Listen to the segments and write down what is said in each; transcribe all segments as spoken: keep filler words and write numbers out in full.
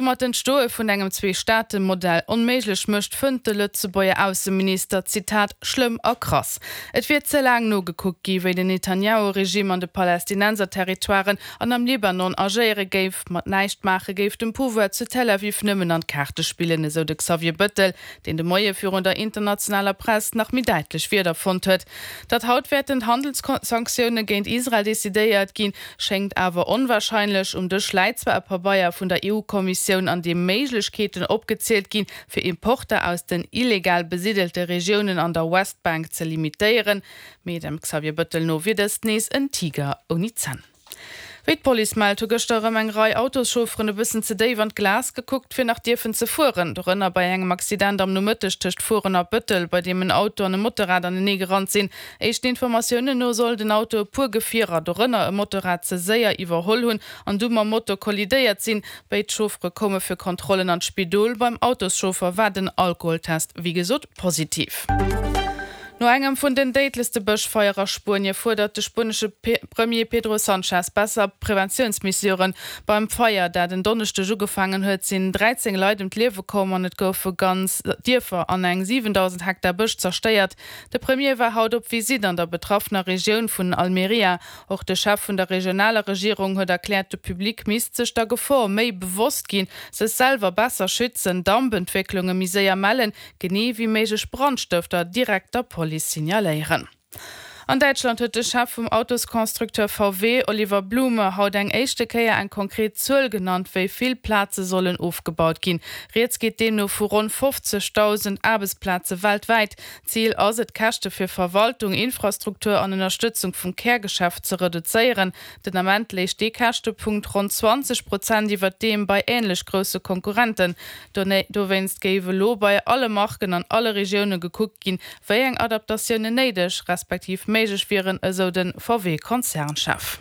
Domat d'Entstoe vun engem Zwee-Staate-Modell onméiglech mécht, fënnt de Lëtzebuerger Ausseminister, Zitat, schlëmm a krass. Et wier ze laang nogekuckt gi wéi den Netanjahu-Regime an de Palästinenser-Territoiren an am Libanon agéiere géif. Mat näischt maache géif dem Pouvoir zu Tel Aviv nëmmen an d'Kaarte spillen, esou de Xavier Bëttel, deen de Moie virun der internationaler Press nach méi däitlech Wierder fonnt huet. Datt haut wäerten Handelssanktioune géint Israel decidéiert ginn, schéngt awer onwarscheinlech. Um Dësch läit zwar e Pabeier vun der EU-Kommissioun, an deem Méiglechkeeten opgezielt ginn, fir Importer aus den illegal besidelte Regiounen an der Westbank ze limitéieren, mee dem Xavier Bëttel no wier dëst nees en Tiger ouni Zänn. Wéi d'Police mellt, hu gëschter erëm eng Rei Autoschaufferen e bëssen ze déif an d'Glas gekuckt, fir nach dierfen ze fueren. Dorënner bei engem Accident am Nomëtteg tëscht Furen a Bëttel, bei deem en Auto an e Motorrad anenee gerannt sinn. Éischten Informatiounen no soll den Auto e puer Gefierer, dorënner e Motorrad, ze séier iwwerholl hunn an du mam Moto kollidéiert sinn. Béid Chauffere koume fir Kontrollen an d'Spidol. Beim Autoschauffer war den Alkoholtest wéi gesot positiv. No engem vun den déidlechste Bëschfeier a Spuenie fuerdert de spuenesche Premier Pedro Sanchez besser Preventiounsmesuren. Beim Feier, dat en Donneschdeg ugefaangen huet, sinn dräizéng Leit ëm d'Liewe komm an et goufe ganz Dierfer an eng siwendausend Hektar Bësch zerstéiert. De Premier war haut op Visitt an der betraffener Regioun vun Almeria. Och de Chef vun der regionaler Regierung huet erkläert, de Public misst sech der Gefor méi bewosst ginn, sech selwer besser schützen, Dampentwécklunge méi séier mellen, genee wéi méiglech Brandstëfter direkt der Police signaléieren. An Däitschland huet de Chef vum Autosconstructeur V W, Oliver Blume, haut eng éischte Kéier eng konkret Zuel genannt, wéi vill Plaze sollen ofgebaut ginn. Rieds geet deemno vu ronn fofzegdausend Aarbechtsplaze weltwäit. Zil ass et, d'Käschte fir Verwaltung, Infrastruktur an Ënnerstëtzung vum Kärgeschäft ze reduzéieren. Den Ament léich dee Käschtepunkt ronn zwanzeg Prozent iwwer deem bei änlech grousse Konkurrenten. Dowéinst géif elo bei alle Marken an alle Regioune gekuckt ginn, wéi eng Adaptatiounen néideg, respektiv méiglech wieren, esou de V W-Konzernchef.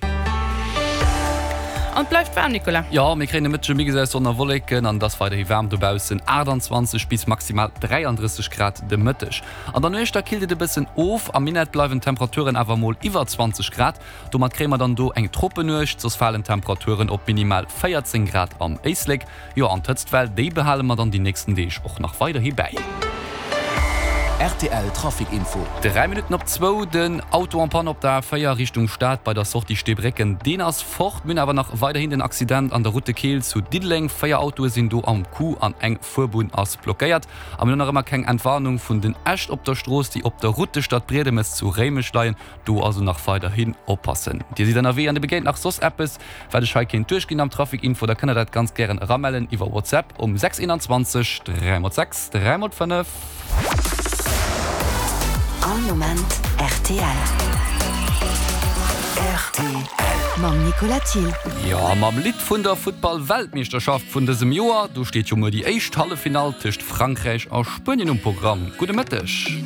An et bleift waarm, Nicolas. Jo, mir kréien de Mëtteg e Mix aus Sonn a Wolleken an et ass weiderhi waarm dobaussen, achtanzwanzeg bis maximal dräiandrësseg Grad de Mëtteg. An der Nuecht da killt et e bëssen of, am Minett bleiwen d'Temperaturen awer mol iwwer zwanzeg Grad. Domat kréie mer dann do eng Tropennuecht, soss falen d'Temperaturen op minimal véierzéng Grad am Éislek. Jo, an d'Hëtztwell, déi behale mer dann déi nächsten Deeg och nach weiderhi bäi. Rtl Trafic Info. Dräi Minutten op zwou, Den Auto en panne op der A véier Richtung Stad bei der Sortie Steebrécken, deen ass fort. Mir hunn awer nach weiderhin den Accident an der Route de Keel zu Diddeleng. Véier Autoe sinn do am Coup an eng Fuerbunn ass blockéiert. A mir hunn nach ëmmer keng Entwarnung vun den Äscht op der Strooss, déi op der Route Stadbriedemes zu Réimech leien. Do also nach weiderhin oppassen. Dir sidd ënnerwee an Dir begéint nach soss eppes, wat ech hei kéint duerchginn am Trafic Info, da kënnt der dat ganz gären eramellen iwwer WhatsApp um sechs eenanzwanzeg dräi mol sechs dräi mol fënnef. All Moment rtl. Rtl. Mam Nicolas Thill. Jo, mam Lidd vun der Futtball-Weltmeeschterschaft vun dësem Joer. Do steet jo muer déi éischt Halleffinall tëscht Frankräich a Spuenien um Programm. Gudde Mëtteg.